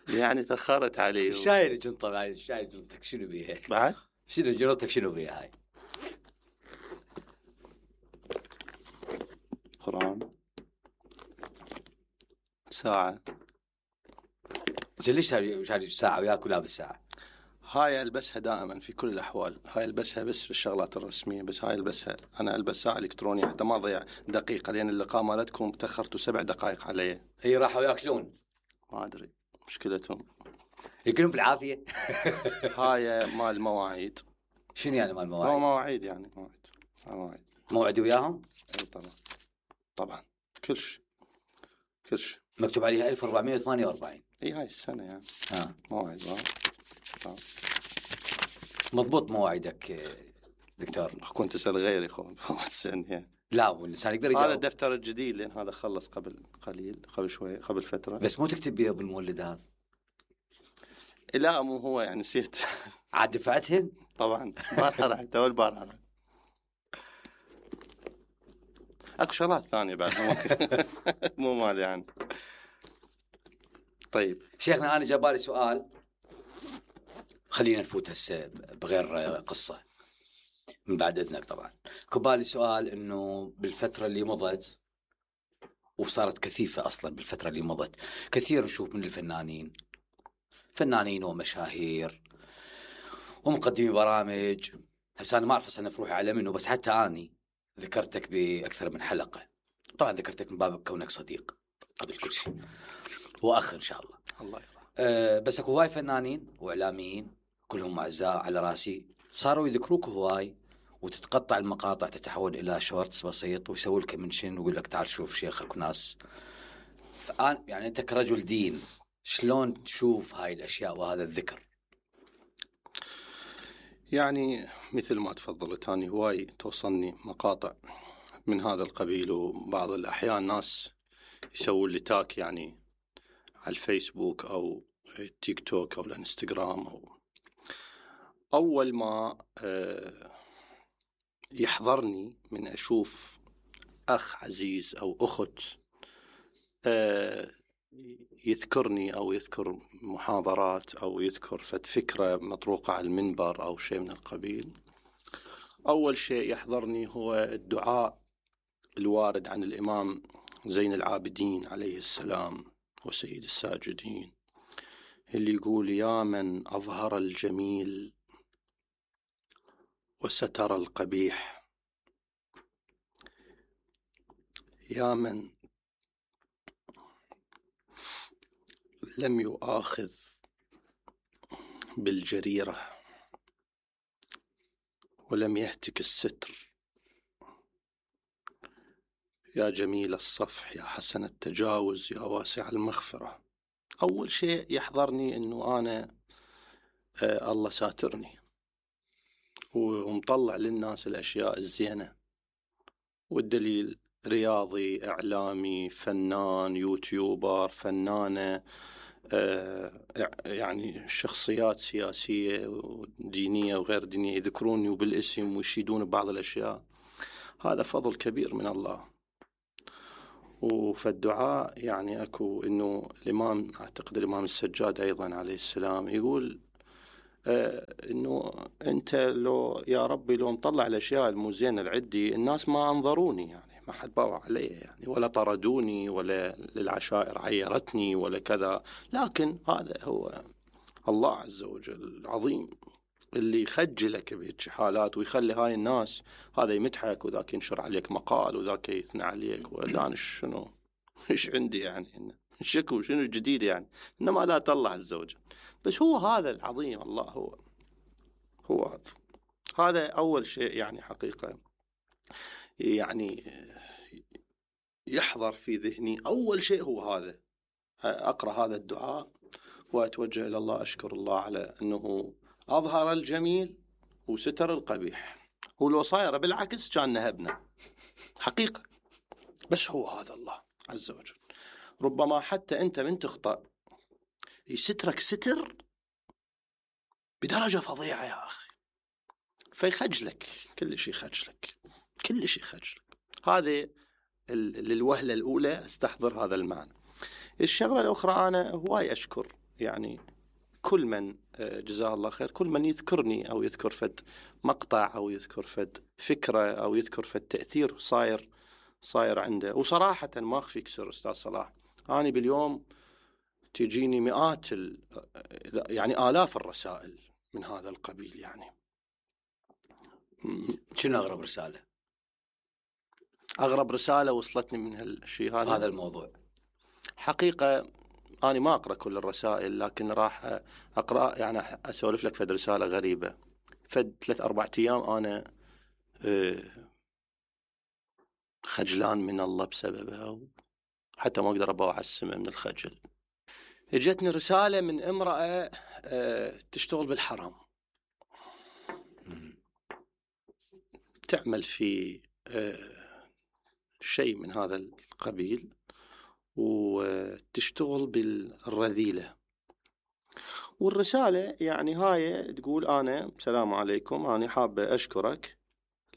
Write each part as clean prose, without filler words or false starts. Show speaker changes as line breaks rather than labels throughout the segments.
يعني تأخرت علي.
الشاي اللي كنت طبعا الشاي جرتك شنو بيها
بعد؟
شنو جرتك شنو بيها هاي؟
قرآن ساعة.
ليش هاي ساعة وياك ولا بالساعة؟
هاي ألبسها دائما في كل الأحوال. هاي ألبسها بس بالشغلات الرسمية. بس هاي ألبسها أنا ألبس ساعة إلكترونية حتى ما أضيع دقيقة، لأن اللقاء مالتكم تأخرتوا 7 دقائق علي.
هي راحوا ياكلون
ما أدري مشكلتهم.
ياكلون بالعافية.
هاي مال مواعيد.
شنو يعني مال مواعيد؟
مواعيد يعني مواعيد.
موعدي وياهم؟
أي طبعا كل شيء
مكتوب عليها 1448.
اي هاي السنة يعني. موعد
مضبوط مواعيدك دكتور.
كنت تسأل غيري سن يعني.
لا والإنسان يقدر يجاوب.
هذا الدفتر الجديد لأن هذا خلص قبل شوي قبل فترة.
بس مو تكتب بيه بالمولدات؟
لا مو هو يعني نسيت.
عاد دفعتهن؟
طبعا بارحة تو البارحة. اكو شغلات ثانية بعد مو مال يعني. طيب
شيخنا أنا جابالي سؤال، خلينا نفوت هسه بغير قصة من بعد إذنك. طبعا كبالي سؤال إنه بالفترة اللي مضت وصارت كثيفة أصلا بالفترة اللي مضت كثير نشوف من فنانين ومشاهير ومقدمي برامج. هسه أنا ما أعرف أصنف روحي على منه، بس حتى أني ذكرتك بأكثر من حلقة. طبعا ذكرتك من باب كونك صديق قبل كل شيء وأخ إن شاء الله.
الله يرحمه.
بس أكو هواي فنانين وإعلاميين كلهم أعزاء على راسي صاروا يذكروك هواي، وتتقطع المقاطع تتحول إلى شورتس بسيط ويسوي لك منشن ويقول لك تعال شوف شيخك وناس. فأنا يعني أنت كرجل دين شلون تشوف هاي الأشياء وهذا الذكر؟
يعني مثل ما تفضلت أنا هواي توصلني مقاطع من هذا القبيل، وبعض الأحيان ناس يسوون لي تاك يعني على الفيسبوك أو التيك توك أو الانستغرام. أول ما يحضرني من أشوف أخ عزيز أو أخت يذكرني أو يذكر محاضرات أو يذكر فكرة مطروقة على المنبر أو شيء من القبيل، أول شيء يحضرني هو الدعاء الوارد عن الإمام زين العابدين عليه السلام وسيد الساجدين، اللي يقول: يا من أظهر الجميل وستر القبيح، يا من لم يؤاخذ بالجريرة ولم يهتك الستر، يا جميل الصفح، يا حسن التجاوز، يا واسع المغفرة. أول شيء يحضرني أنه أنا الله ساترني ومطلع للناس الأشياء الزينة، والدليل رياضي، إعلامي، فنان، يوتيوبر، فنانة، يعني شخصيات سياسية ودينية وغير دينية يذكروني بالاسم ويشيدون بعض الأشياء. هذا فضل كبير من الله. وفالدعاء يعني أكو إنه الإمام، أعتقد الإمام السجاد أيضا عليه السلام، يقول إنه أنت لو يا ربي لو مطلع الأشياء المزينة العدي الناس ما أنظروني، يعني ما حد باوع علي يعني، ولا طردوني، ولا للعشائر عيرتني ولا كذا. لكن هذا هو الله عز وجل العظيم اللي يخجلك بهيك حالات ويخلي هاي الناس هذا يمدحك وذاك ينشر عليك مقال وذاك يثنى عليك. ولا أنا شنو إيش عندي يعني شكو شنو جديد يعني، إنما لا الله عز وجل. بس هو هذا العظيم الله هو هذا أول شيء يعني حقيقة يعني يحضر في ذهني. أول شيء هو هذا، أقرأ هذا الدعاء وأتوجه إلى الله، أشكر الله على أنه أظهر الجميل وستر القبيح، ولو صاير بالعكس كان نهبنا حقيقة. بس هو هذا الله عز وجل. ربما حتى أنت من تخطأ يسترك ستر بدرجة فظيعة يا أخي، فيخجلك كل شيء، خجلك كل شيء خجلك. هذه للوهلة الأولى استحضر هذا المعنى. الشغلة الأخرى، أنا هواي أشكر يعني كل من جزاه الله خير، كل من يذكرني أو يذكر فد مقطع أو يذكر فد فكرة أو يذكر فد تأثير صاير عنده. وصراحة ما أخفيك سر أستاذ صلاح، أنا باليوم تجيني مئات يعني آلاف الرسائل من هذا القبيل. يعني
شنو أغرب رسالة؟
أغرب رسالة وصلتني من هالشيء
هذا الموضوع
حقيقة أنا ما أقرأ كل الرسائل، لكن راح أقرأ يعني أسولف لك فد رسالة غريبة. فد 3-4 أيام أنا خجلان من الله بسببها، حتى ما أقدر أبوع السماء من الخجل. اجتني رسالة من امرأة تشتغل بالحرام، تعمل في شيء من هذا القبيل، وتشتغل بالرذيلة. والرسالة يعني هاي تقول: أنا السلام عليكم، أنا حابة أشكرك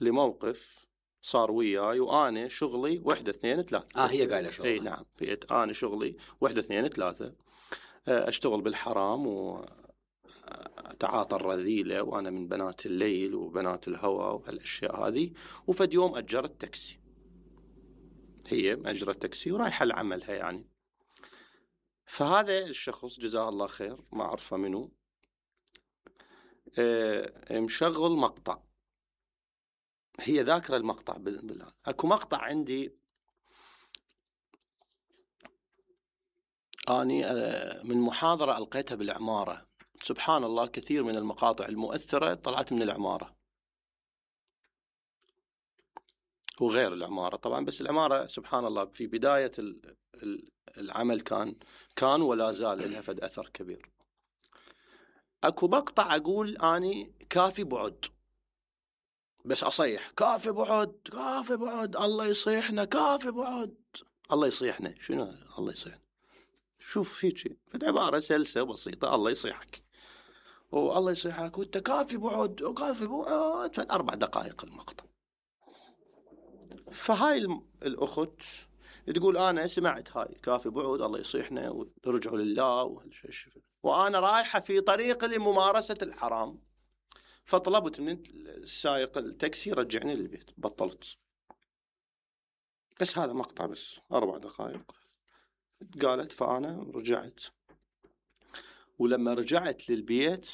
لموقف صار وياي، وأنا شغلي 1 2 3.
هي قايلة شغلها.
أي نعم، أنا شغلي 1 2 3، أشتغل بالحرام وأتعاطى الرذيلة، وأنا من بنات الليل وبنات الهوى وهالأشياء هذه. وفد يوم أجرت تاكسي، هي أجرت تاكسي ورايحة لعملها يعني. فهذا الشخص جزاه الله خير، ما أعرفه منه، مشغل مقطع، هي ذاكرة المقطع بالله. أكو مقطع عندي أني من محاضرة ألقيتها بالعمارة. سبحان الله، كثير من المقاطع المؤثرة طلعت من العمارة وغير العمارة طبعا، بس العمارة سبحان الله في بداية العمل كان ولا زال لها فد أثر كبير. أكو مقطع أقول أني كافي بعد، بس أصيح كافي بعد كافي بعد، الله يصيحنا، كافي بعد الله يصيحنا. شنو الله يصيحنا؟ شوف هيك عبارة سلسة بسيطة: الله يصيحك والله يصيحك وانت كافي بعد وكافي بعد. 4 دقائق المقطع. فهاي الأخت تقول: أنا سمعت هاي كافي بعد الله يصيحنا ورجعوا لله وهالشيء، وأنا رايحة في طريق لممارسة الحرام، فطلبت من السائق التاكسي رجعني للبيت، بطلت. بس هذا مقطع بس 4 دقائق قالت. فأنا رجعت، ولما رجعت للبيت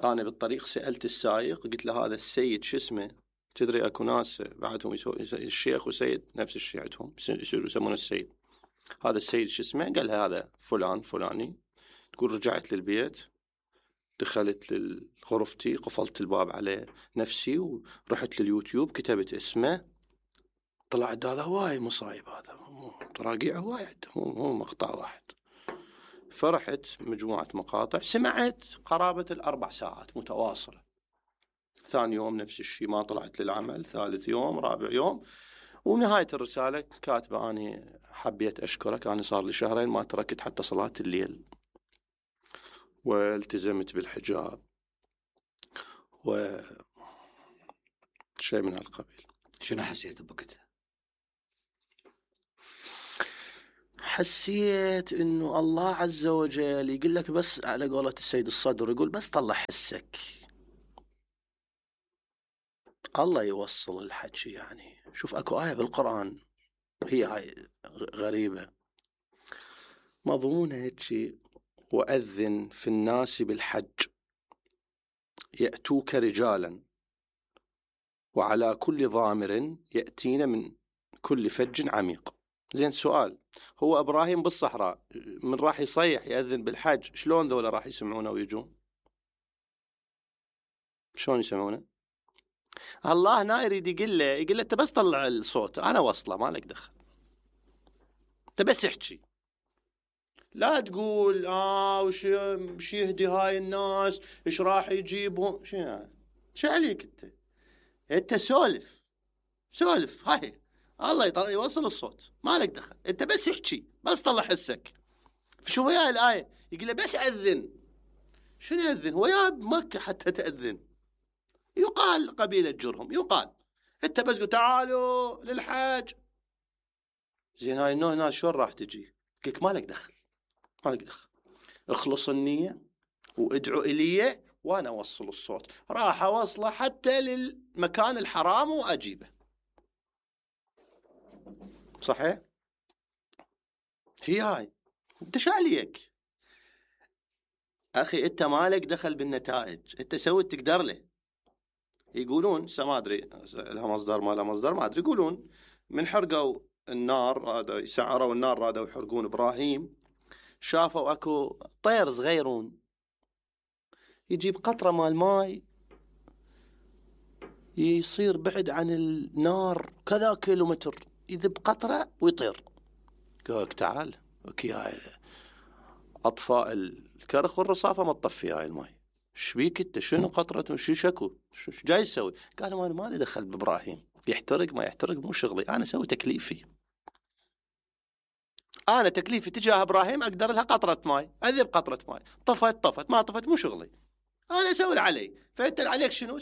أنا بالطريق سألت السائق، قلت له: هذا السيد شو اسمه؟ تدري أكو ناس بعدهم الشيخ وسيد نفس الشيء عندهم يسمونه السيد. هذا السيد شو اسمه؟ قال: هذا فلان فلاني. تقول: رجعت للبيت، دخلت لغرفتي، قفلت الباب على نفسي، ورحت لليوتيوب كتبت اسمه، طلعت هذا هواي مصايب، هذا تراجيع هواي، مو مقطع واحد. فرحت مجموعة مقاطع، سمعت قرابة 4 ساعات متواصلة. ثاني يوم نفس الشيء، ما طلعت للعمل. ثالث يوم، رابع يوم، ونهاية الرسالة كاتبة: أنا حبيت أشكرك، أنا صار لي 2 شهرين ما تركت حتى صلاة الليل، والتزمت بالحجاب وشيء من هالقبيل.
شنو حسيت بوقتها؟
حسيت إنه الله عز وجل يقول لك، بس على قولة السيد الصدر يقول: بس طلع حسك. الله يوصل الحكي. يعني شوف، أكو آية بالقرآن هي هاي غريبة، مضمونها هيك: وأذن في الناس بالحج يأتوك رجالا وعلى كل ضامر يأتين من كل فج عميق. زين، سؤال: هو إبراهيم بالصحراء من راح يصيح يأذن بالحج، شلون ذولا راح يسمعونه ويجون؟ شلون يسمعونه؟ الله هنا يريد يقول له أنت بس طلع الصوت، أنا وصله، ما لك دخل، أنت بس احكي، لا تقول وش يهدي هاي الناس، إيش راح يجيبهم، شو عليك أنت سولف هاي، الله يوصل الصوت، ما لك دخل، أنت بس احكي، بس طلع حسك. شوف هاي الآية يقول له: بس أذن. شنو يأذن؟ هو يا بمكة حتى تأذن، يقال قبيلة جرهم، يقال أنت بس قل تعالوا للحاج. زين، هاي الناس شلون راح تجي؟ قلك ما لك دخل، ما لك دخل. اخلص النية وادعو إلي وأنا أوصل الصوت. راح أوصله حتى للمكان الحرام وأجيبه. صحيح؟ هي هاي. انت شو عليك أخي؟ أنت مالك دخل بالنتائج، أنت سوي تقدر له. يقولون ما أدري لها مصدر ما لها مصدر ما أدري، يقولون من حرقوا النار هذا، يسعروا النار هذا ويحرقون إبراهيم، شافوا أكو طير صغيرون يجيب قطرة مال ماي يصير بعد عن النار كذا كيلومتر، يذب قطرة ويطير. قالك تعال وكيا أطفاء الكرخ والرصافة ما تطفي هاي الماي. شبيك انت؟ شنو قطرة؟ شو شكو؟ شو جاي يسوي؟ قالوا انا مالي دخل بإبراهيم، يحترق ما يحترق مو شغلي، انا اسوي تكليفي. انا تكليفي تجاه ابراهيم اقدر لها قطرة ماي، اذب قطرة ماي، طفت ما طفت مو شغلي، انا اسوي علي. فانت عليك شنو؟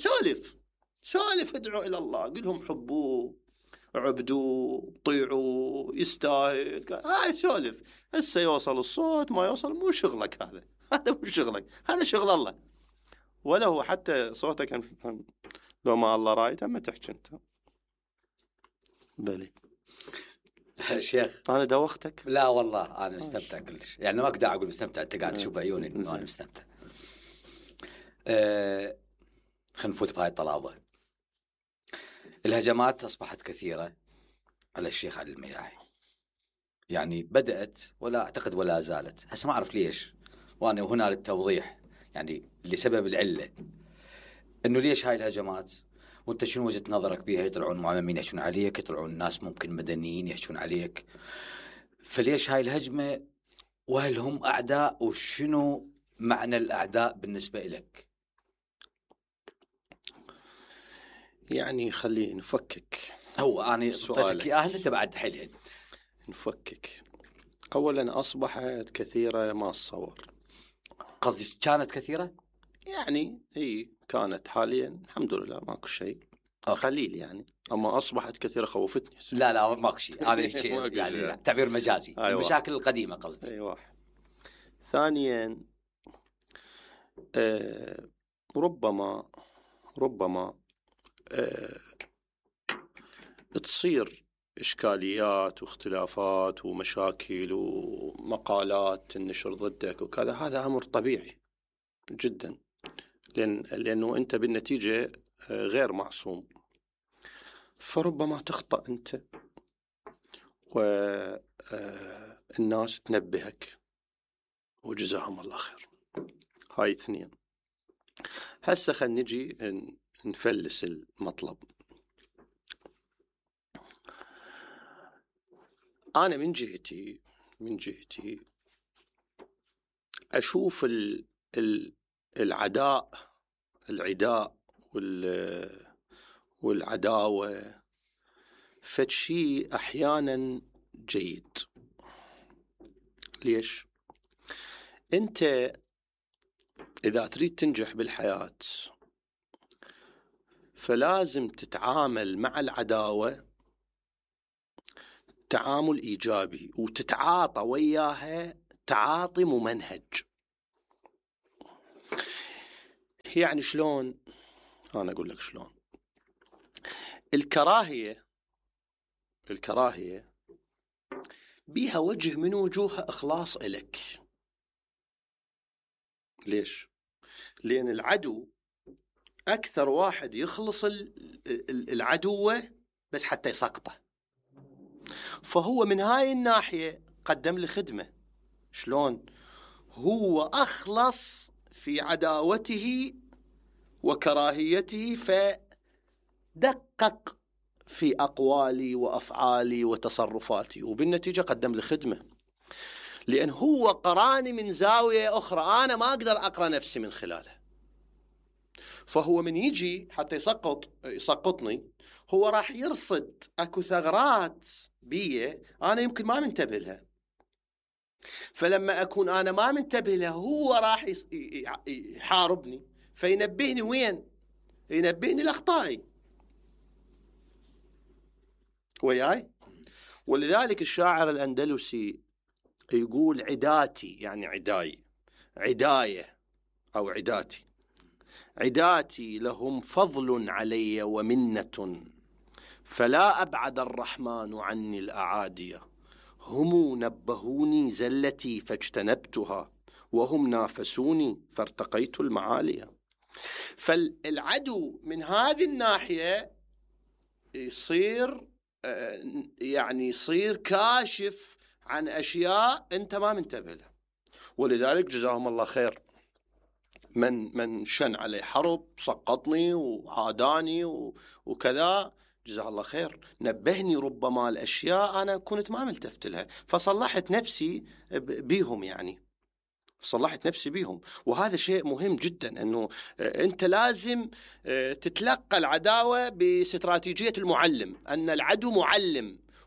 سولف ادعو الى الله، قل لهم حبوه عبدوا طيعوا يستاهل، هاي سولف. هسه يوصل الصوت ما يوصل مو شغلك، هذا مو شغلك، هذا شغل الله. ولا هو حتى صوتك لو ما الله رايت اما تحكي انت. بلي
شيخ
انا دوختك؟
لا والله انا مستمتع كلش، يعني ما اقدر اقول مستمتع، انت قاعد تشوف بعيوني انه انا مستمتع. خلينا نفوت بهاي الطلابه. الهجمات اصبحت كثيره على الشيخ علي المياعي، يعني بدأت ولا أعتقد ولا زالت، هسه ما أعرف ليش، وأنا هنا للتوضيح يعني لسبب العلة إنه ليش هاي الهجمات، وأنت شنو وجهة نظرك بيها؟ يطلعون معممين يحشون عليك، يطلعون ناس ممكن مدنيين يحشون عليك، فليش هاي الهجمة؟ وهل هم أعداء؟ وشنو معنى الأعداء بالنسبة لك؟
يعني خلينا نفكك.
هو أنا أعطيتك إياه أنت بعد حلهن.
نفكك. أولا أصبحت كثيرة ما أتصور.
قصدي كانت كثيرة؟
يعني هي كانت، حاليا الحمد لله ماكو شيء، قليل يعني. أما أصبحت كثيرة خوفتني.
لا ماكو شيء، أنا يعني تعبير مجازي. المشاكل القديمة قصدي.
أي واحد. ثانيا ربما تصير إشكاليات واختلافات ومشاكل ومقالات النشر ضدك وكذا، هذا أمر طبيعي جدا، لأنه أنت بالنتيجة غير معصوم، فربما تخطأ أنت والناس تنبهك وجزاهم الله خير. هاي اثنين. هسه خلينا نجي نفلس المطلب. أنا من جهتي أشوف العداء والعداوة فشي أحيانا جيد. ليش؟ أنت إذا تريد تنجح بالحياة فلازم تتعامل مع العداوة تعامل إيجابي، وتتعاطى وياها تعاطي ممنهج. يعني شلون؟ أنا أقول لك شلون. الكراهية بيها وجه من وجوه إخلاص إلك. ليش؟ لأن العدو أكثر واحد يخلص العدوة بس حتى يسقطه، فهو من هاي الناحية قدم لي خدمة. شلون؟ هو أخلص في عداوته وكراهيته، فدقق في أقوالي وأفعالي وتصرفاتي، وبالنتيجة قدم لي خدمة، لأن هو قراني من زاوية أخرى أنا ما أقدر أقرأ نفسي من خلالها. فهو من يجي حتى يسقطني هو راح يرصد أكو ثغرات بيه أنا يمكن ما منتبه لها، فلما أكون أنا ما منتبه لها هو راح يحاربني، فينبهني وين؟ ينبهني لأخطائي وياي. ولذلك الشاعر الأندلسي يقول عداتي، يعني عداي، عداية أو عداتي. عداتي لهم فضل علي ومنة، فلا أبعد الرحمن عني الأعادية. هم نبهوني زلتي فاجتنبتها، وهم نافسوني فارتقيت المعالية. فالعدو من هذه الناحية يصير يعني يصير كاشف عن أشياء أنت ما منتبه لها. ولذلك جزاهم الله خير من شن علي حرب، سقطني وعاداني وكذا، جزاه الله خير، نبهني ربما الأشياء أنا كنت ما ملتفت لها، فصلحت نفسي بيهم، يعني صلحت نفسي بيهم. وهذا شيء مهم جدا، أنه أنت لازم تتلقى العداوة باستراتيجية المعلم، أن العدو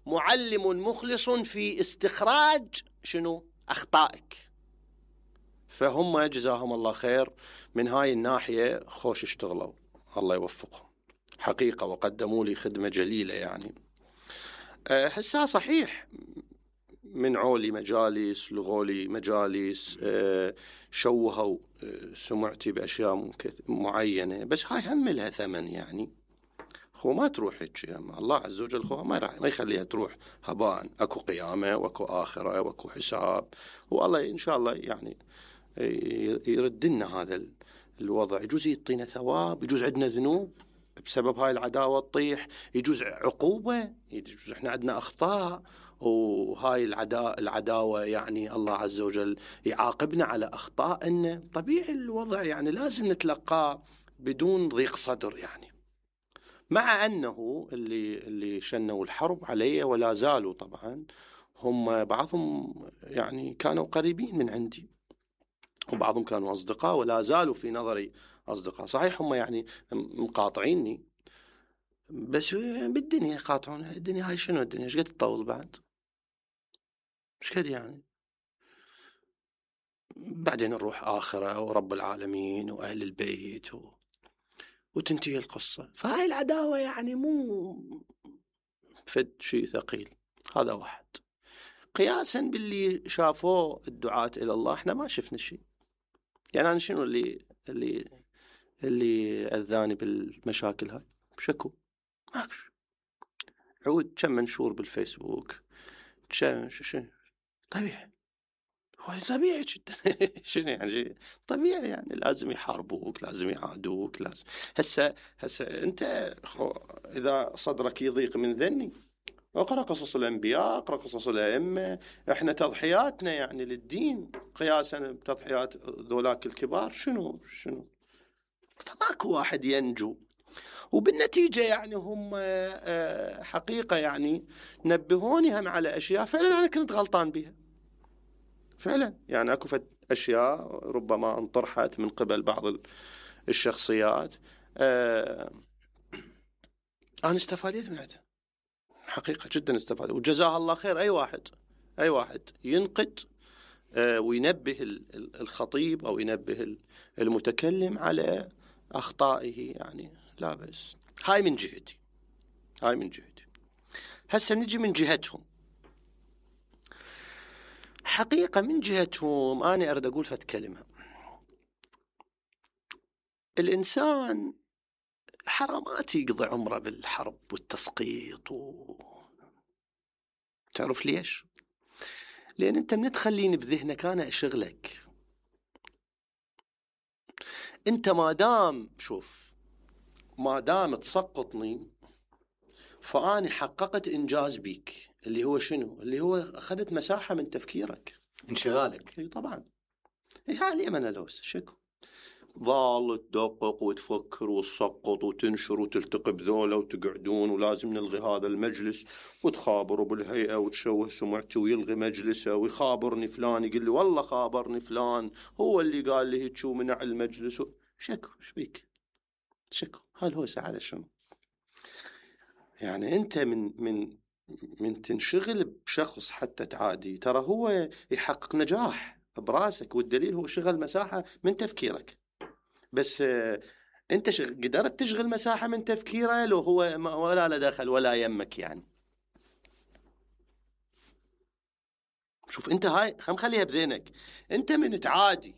معلم مخلص في استخراج شنو أخطائك. فهم جزاهم الله خير من هاي الناحية خوش اشتغلوا، الله يوفقهم حقيقة، وقدموا لي خدمة جليلة. يعني هسا صحيح من عولي مجالس، لغولي مجالس، شوهوا سمعتي بأشياء معينة، بس هاي هم لها ثمن. يعني خو ما تروح هيك، الله عز وجل خو ما يخليها تروح هباء. اكو قيامة واكو آخرة واكو حساب، والله إن شاء الله يعني يرد لنا هذا الوضع. يجوز يعطينا ثواب، يجوز عندنا ذنوب بسبب هاي العداوة تطيح، يجوز عقوبة، يجوز احنا عندنا أخطاء، وهاي العداوة يعني الله عز وجل يعاقبنا على أخطائنا. طبيعي الوضع، يعني لازم نتلقاه بدون ضيق صدر. يعني مع أنه اللي شنوا الحرب علي ولا زالوا طبعا، هم بعضهم يعني كانوا قريبين من عندي، وبعضهم كانوا أصدقاء ولا زالوا في نظري أصدقاء. صحيح هم يعني مقاطعيني، بس بالدنيا قاطعون. الدنيا هاي شنو؟ الدنيا ايش قد تطول بعد؟ ايش قد يعني؟ بعدين نروح آخرة ورب العالمين وأهل البيت وتنتهي القصة. فهاي العداوة يعني مو فد شيء ثقيل. هذا واحد. قياسا باللي شافوه الدعاة إلى الله، احنا ما شفنا شيء. يعني أنا شنو اللي أذاني بالمشاكل هاي؟ شكو ماكش. عود كم منشور بالفيسبوك، شنو طبيعي، هو طبيعي جدا. شنو يعني طبيعي؟ يعني لازم يحاربوك، لازم يعادوك، لازم. هسه انت اذا صدرك يضيق من ذني، اقرأ قصص الأنبياء، اقرأ قصص الأئمة. احنا تضحياتنا يعني للدين قياسا بتضحيات ذولاك الكبار شنو. فماكو واحد ينجو. وبالنتيجة يعني هم حقيقة يعني نبهوني هم على أشياء فعلا أنا كنت غلطان بها فعلا. يعني أكو أشياء ربما انطرحت من قبل بعض الشخصيات أنا استفادت من هذا حقيقة، جدا استفادت. وجزاه الله خير أي واحد ينقد وينبه الخطيب أو ينبه المتكلم على أخطائه، يعني لا بس. هاي من جهتي. هسه نجي من جهتهم. حقيقة من جهتهم أنا أريد أقول فت كلمة. الإنسان حرامات يقضي عمره بالحرب والتسقيط تعرف ليش؟ لأن أنت من تخليني بذهنك أنا أشغلك. أنت ما دام تسقطني فأنا حققت إنجاز بيك، اللي هو شنو؟ اللي هو أخذت مساحة من تفكيرك،
انشغالك.
طبعا. هالي أنا لوس شكو ظل تدقق وتفكر وتسقط وتنشر وتلتقي بذولا وتقعدون ولازم نلغي هذا المجلس، وتخابروا بالهيئة وتشوه سمعتي ويلغي مجلسه، ويخابرني فلان يقول لي والله خابرني فلان هو اللي قال لي هيك ومنع المجلس شكو. ايش بيك؟ شكو هل هو سعادة شنو؟ يعني أنت من تنشغل بشخص حتى تعادي، ترى هو يحقق نجاح براسك، والدليل هو شغل مساحة من تفكيرك. بس أنت قدرت تشغل مساحة من تفكيره لو هو ولا له دخل ولا يمك. يعني شوف أنت هاي هم خليها بذهنك. أنت من تعادي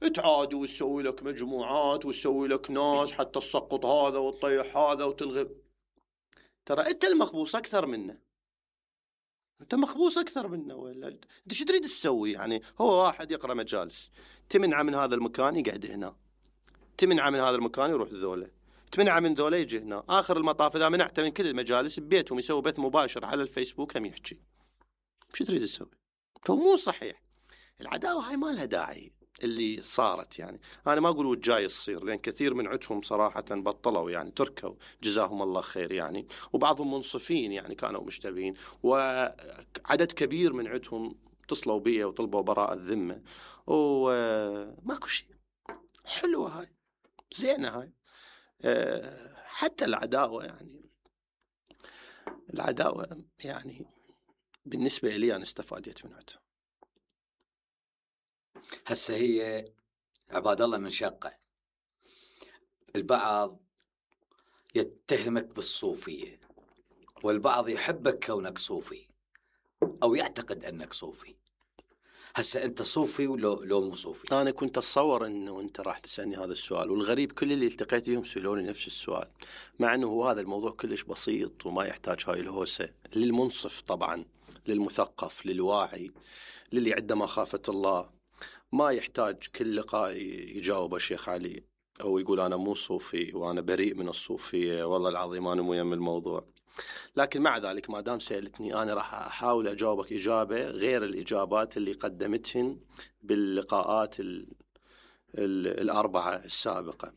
تعادي وتسوي لك مجموعات وتسوي لك ناس حتى تسقط هذا وتطيح هذا وتلغي. ترى انت المخبوص اكثر منه، انت مخبوص اكثر منه. ولا انت شو تريد تسوي؟ يعني هو واحد يقرا مجالس، تمنع من هذا المكان يقعد هنا، تمنع من هذا المكان يروح ذوله، تمنع من ذوله يجي هنا. اخر المطاف اذا منعت من كل المجالس ببيتهم يسوي بث مباشر على الفيسبوك هم يحكي. شو تريد تسوي؟ فمو صحيح. العداوه هاي ما لها داعي اللي صارت. يعني انا ما اقول وجاي تصير، لان كثير من عندهم صراحه بطلوا، يعني تركوا جزاهم الله خير يعني، وبعضهم منصفين يعني كانوا مشتبهين، وعدد كبير من عندهم اتصلوا بي وطلبوا براءة الذمه وماكو شيء. حلوه هاي، زينه هاي. حتى العداوه يعني بالنسبه لي انا استفادت من عندها.
هسه هي عباد الله من شقة، البعض يتهمك بالصوفية، والبعض يحبك كونك صوفي أو يعتقد أنك صوفي. هسه أنت صوفي لو مو صوفي؟
أنا كنت أتصور أنه أنت راح تسألني هذا السؤال، والغريب كل اللي التقيت بهم سألوني نفس السؤال، مع أنه هو هذا الموضوع كلش بسيط وما يحتاج هاي الهوسة. للمنصف طبعا، للمثقف، للواعي، للي عنده مخافة الله، ما يحتاج كل لقاء يجاوب شيخ علي أو يقول أنا مو صوفي وأنا بريء من الصوفية، والله العظيم أنا مو يم الموضوع. لكن مع ذلك ما دام سألتني أنا راح أحاول أجاوبك إجابة غير الإجابات اللي قدمتهن باللقاءات الأربعة السابقة.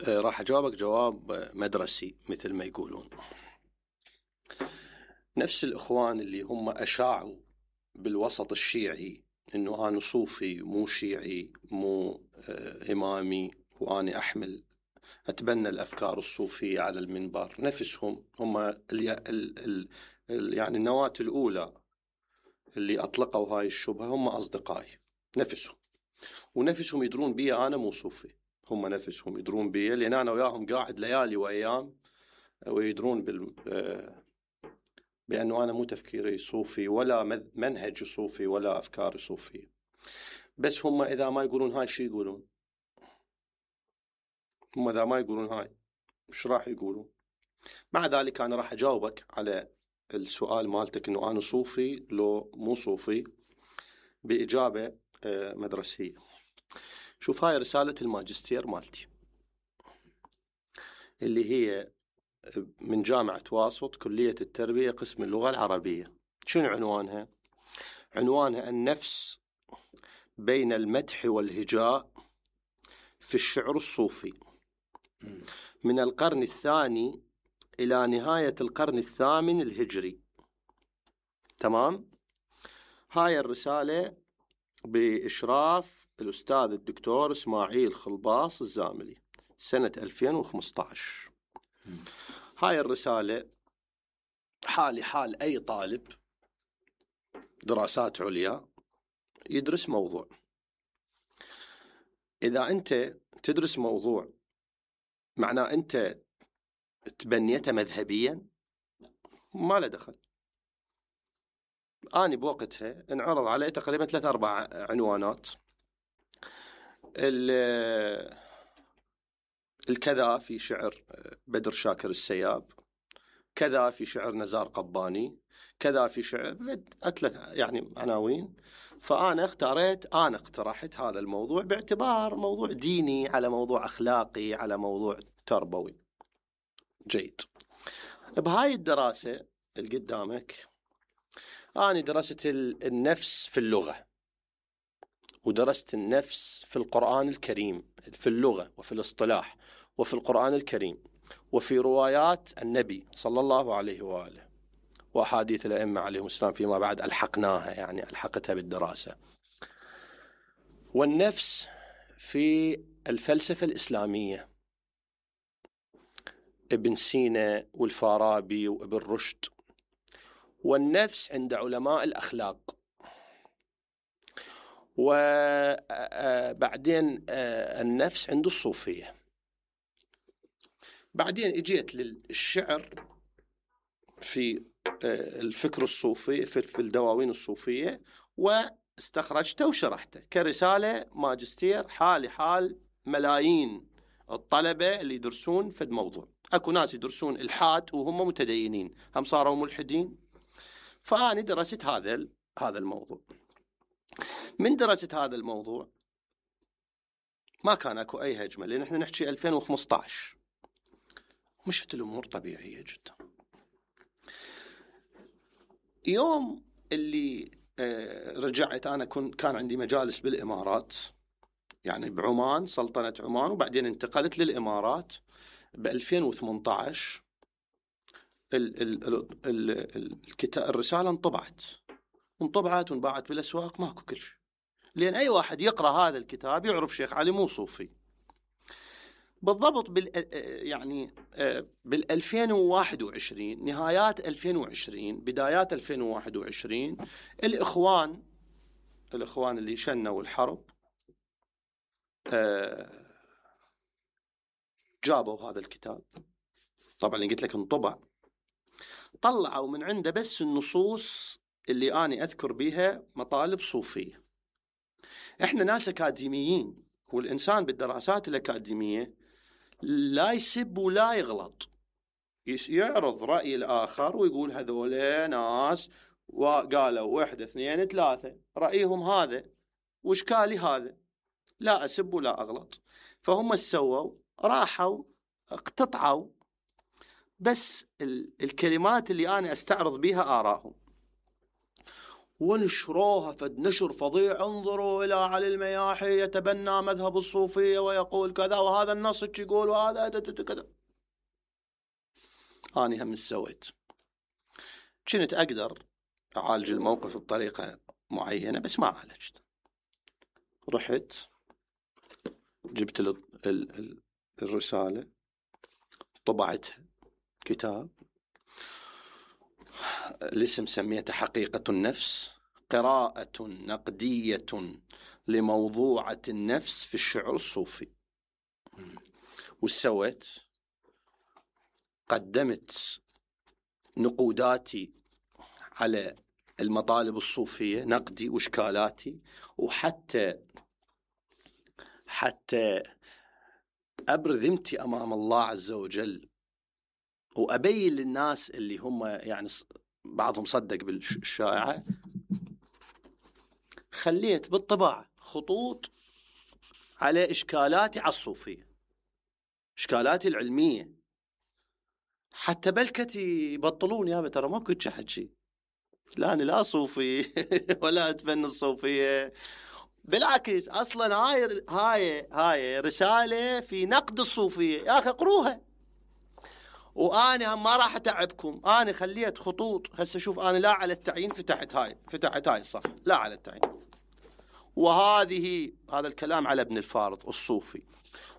راح أجاوبك جواب مدرسي مثل ما يقولون. نفس الإخوان اللي هم أشاعوا بالوسط الشيعي إنه أنا صوفي مو شيعي مو إمامي وأنا أتبنى الأفكار الصوفية على المنبر، نفسهم هم يعني النواة الأولى اللي أطلقوا هاي الشبهة هم أصدقائي نفسهم، ونفسهم يدرون بي أنا مو صوفي. هم نفسهم يدرون بي لأن أنا وياهم قاعد ليالي وأيام، ويدرون بأنه أنا مو تفكيري صوفي ولا منهج صوفي ولا أفكار صوفية. بس هم إذا ما يقولون هاي شي يقولون؟ هم إذا ما يقولون هاي مش راح يقولون؟ مع ذلك أنا راح أجاوبك على السؤال مالتك إنه أنا صوفي لو مو صوفي بإجابة مدرسية. شوف، هاي رسالة الماجستير مالتي اللي هي من جامعة واسط كلية التربية قسم اللغة العربية. شنو عنوانها؟ عنوانها النفس بين المدح والهجاء في الشعر الصوفي من القرن الثاني إلى نهاية القرن الثامن الهجري. تمام؟ هاي الرسالة بإشراف الأستاذ الدكتور إسماعيل خلباص الزاملي سنة 2015. هاي الرسالة حالي حال أي طالب دراسات عليا يدرس موضوع. إذا أنت تدرس موضوع معناه أنت تبنيته مذهبيا ما له دخل. أنا بوقتها انعرض علي تقريبا 3-4 عنوانات، الكذا في شعر بدر شاكر السياب، كذا في شعر نزار قباني، كذا في شعر 3 يعني عناوين. فأنا اقترحت هذا الموضوع باعتبار موضوع ديني على موضوع أخلاقي على موضوع تربوي. جيد. بهاي الدراسة اللي قدامك أنا درست النفس في اللغة، ودرست النفس في القرآن الكريم، في اللغة وفي الاصطلاح وفي القرآن الكريم وفي روايات النبي صلى الله عليه وآله وأحاديث الأئمة عليهم السلام فيما بعد ألحقناها، يعني ألحقتها بالدراسة. والنفس في الفلسفة الإسلامية، ابن سينا والفارابي وابن رشد. والنفس عند علماء الأخلاق. وبعدين النفس عند الصوفية. بعدين اجيت للشعر في الفكر الصوفي في الدواوين الصوفية، استخرجته وشرحته كرسالة ماجستير حالي حال ملايين الطلبة اللي يدرسون في الموضوع. اكو ناس يدرسون الحاد وهم متدينين، هم صاروا ملحدين. فأنا درست هذا الموضوع. من درست هذا الموضوع ما كان اكو اي هجمة، لان احنا نحكي 2015 مشت الامور طبيعية جدا. يوم اللي رجعت انا كان عندي مجالس بالامارات، يعني بعمان، سلطنة عمان، وبعدين انتقلت للامارات ب 2018. الرسالة انطبعت وانباعت بالاسواق، ماكو كل شيء، لان اي واحد يقرا هذا الكتاب يعرف شيخ علي مو صوفي. بالضبط يعني بال 2021، نهايات 2020 بدايات 2021، الإخوان اللي شنوا الحرب جابوا هذا الكتاب، طبعا اللي قلت لك انطبع، طلعوا من عنده بس النصوص اللي أنا أذكر بها مطالب صوفية. إحنا ناس أكاديميين، والإنسان بالدراسات الأكاديمية لا يسب ولا يغلط، يعرض رأي الآخر ويقول هذول ناس وقالوا 1 2 3 رأيهم هذا وإشكالي هذا، لا أسب ولا أغلط. فهم سووا، راحوا اقتطعوا بس الكلمات اللي أنا أستعرض بها آراهم ونشروها فد نشر فظيع. انظروا إلى علي المياحي يتبنى مذهب الصوفية ويقول كذا، وهذا النص يقول، وهذا كذا. أنا هم سويت، كنت أقدر أعالج الموقف بطريقة معينة بس ما عالجت. رحت جبت الرسالة، طبعتها كتاب، الاسم سميته حقيقة النفس، قراءة نقدية لموضوعة النفس في الشعر الصوفي. وسويت قدمت نقوداتي على المطالب الصوفية، نقدي وإشكالاتي، وحتى أبرز ذمتي أمام الله عز وجل، وأبين للناس اللي هم يعني بعضهم صدق بالشائعة. خليت بالطباعة خطوط على إشكالاتي على الصوفية، إشكالاتي العلمية، حتى بلكتي يبطلون يا ترى ما كنت حكي، لا أنا لا صوفي ولا أتبنى الصوفية، بالعكس أصلا هاي رسالة في نقد الصوفية، يا أخي اقروها. وأنا هم ما راح أتعبكم، أنا خليت خطوط. هسه شوف، أنا لا على التعيين فتحت هاي الصفحة، لا على التعيين. هذا الكلام على ابن الفارض الصوفي.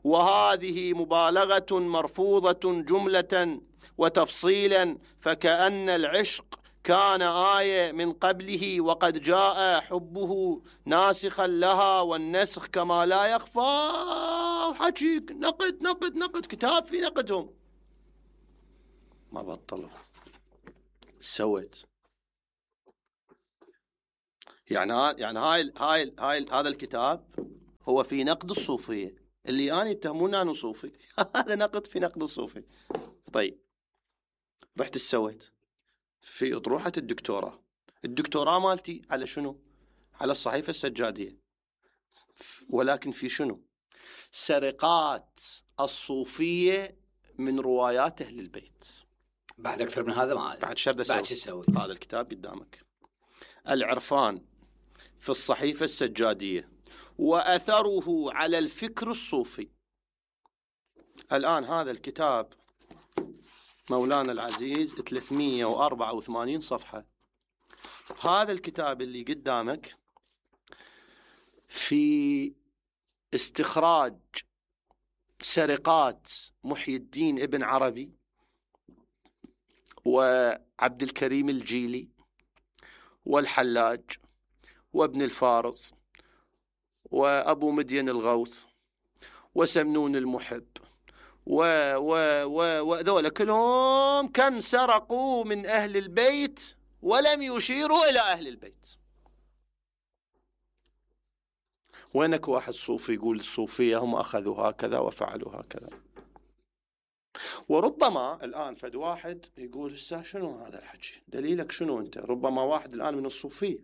وهذه مبالغة مرفوضة جملة وتفصيلا، فكأن العشق كان آية من قبله وقد جاء حبه ناسخا لها، والنسخ كما لا يخفى. وحكيك نقد كتاب في نقدهم، ما بطلوا. سويت يعني هذا الكتاب هو في نقد الصوفية، اللي أنا يتهمون أنا صوفي هذا نقد في نقد الصوفي. طيب رحت سويت في أطروحة الدكتوراه مالتي على شنو؟ على الصحيفة السجادية، ولكن في شنو؟ سرقات الصوفية من روايات أهل البيت.
بعد أكثر من هذا ما
بعد شو
تسوي؟
هذا الكتاب قدامك، العرفان في الصحيفة السجادية وأثره على الفكر الصوفي. الآن هذا الكتاب مولانا العزيز 384 صفحة. هذا الكتاب اللي قدامك في استخراج سرقات محي الدين ابن عربي وعبد الكريم الجيلي والحلاج وابن الفارض وأبو مدين الغوث وسمنون المحب وذولا كلهم كم سرقوا من أهل البيت ولم يشيروا إلى أهل البيت. وينك واحد صوفي يقول الصوفية هم أخذوا هكذا وفعلوا هكذا. وربما الآن فد واحد يقول شنو هذا الحكي؟ دليلك شنو أنت؟ ربما واحد الآن من الصوفية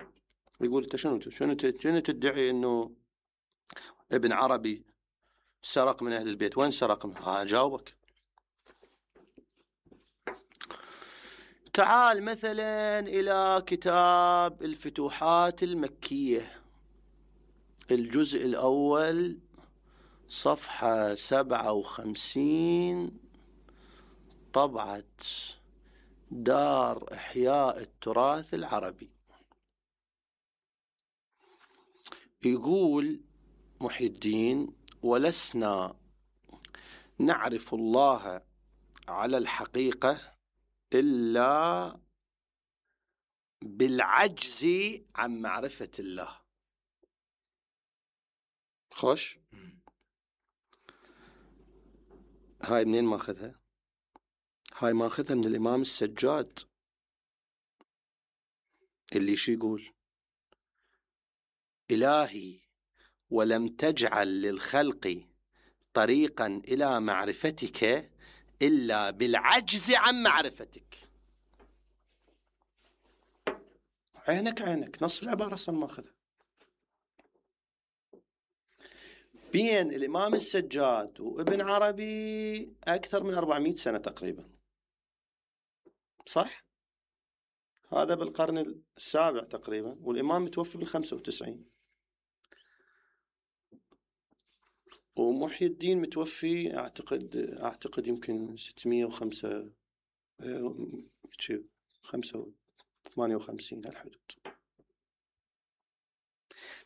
يقول أنت شنو تدعي أنه ابن عربي سرق من أهل البيت؟ وين سرق منه؟ جاوبك. تعال مثلا إلى كتاب الفتوحات المكية الجزء الأول صفحة 57 طبعة دار إحياء التراث العربي. يقول محي الدين: ولسنا نعرف الله على الحقيقة إلا بالعجز عن معرفة الله. خوش، هاي منين ماخذها؟ هاي ماخذها من الإمام السجاد اللي شو يقول؟ إلهي ولم تجعل للخلق طريقا إلى معرفتك إلا بالعجز عن معرفتك. عينك نص العبارة أصلا ماخذها. بين الإمام السجاد وابن عربي أكثر من 400 سنة تقريبا، صح؟ هذا بالقرن السابع تقريبا، والإمام متوفي بال95، ومحي الدين متوفي أعتقد يمكن 605 58 هالحدود.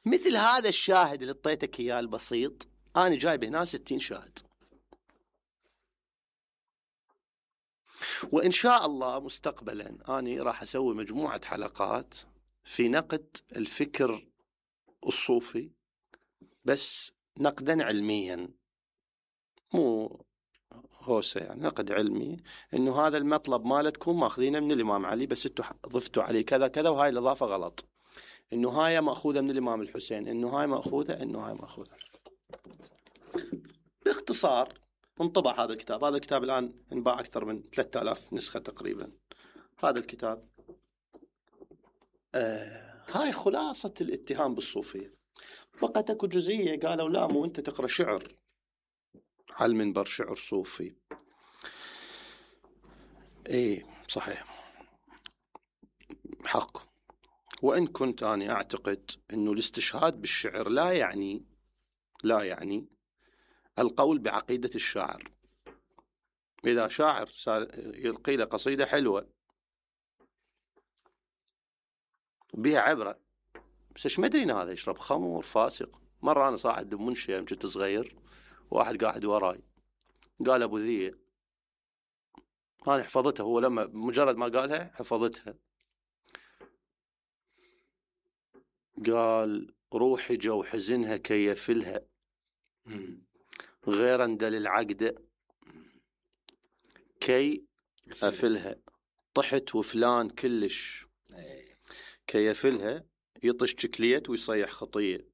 مثل هذا الشاهد اللي اعطيتك اياه البسيط، انا جايب هنا 60 شاهد. وان شاء الله مستقبلا انا راح اسوي مجموعة حلقات في نقد الفكر الصوفي، بس نقدا علميا، مو هوسة يعني، نقد علمي، انه هذا المطلب مالتكم ماخذينه من الامام علي بس انتم ضفتوا عليه كذا كذا، وهاي الاضافة غلط، انه هاي ماخوذة من الامام الحسين، انه هاي ماخوذة. باختصار انطبع هذا الكتاب. هذا الكتاب الان انباع اكثر من 3000 نسخة تقريبا. هذا الكتاب هاي خلاصة الاتهام بالصوفية. بقت اكو جزئية قالوا لا، مو انت تقرأ شعر على المنبر، شعر صوفي. ايه صحيح، حق. وإن كنت أنا أعتقد أنه الاستشهاد بالشعر لا يعني القول بعقيدة الشاعر. إذا شاعر يلقي له قصيدة حلوة بها عبرة، بس إيش مدري هذا يشرب خمر فاسق. مرة أنا صاعد بمنشية يوم كنت صغير، واحد قاعد وراي قال أبو ذي، أنا حفظتها، هو لما مجرد ما قالها حفظتها. قال: روحي جو حزنها كي يفلها غير اندل العقدة كي أفلها، طحت وفلان كلش كي يفلها، يطش شكليت ويصيح خطية.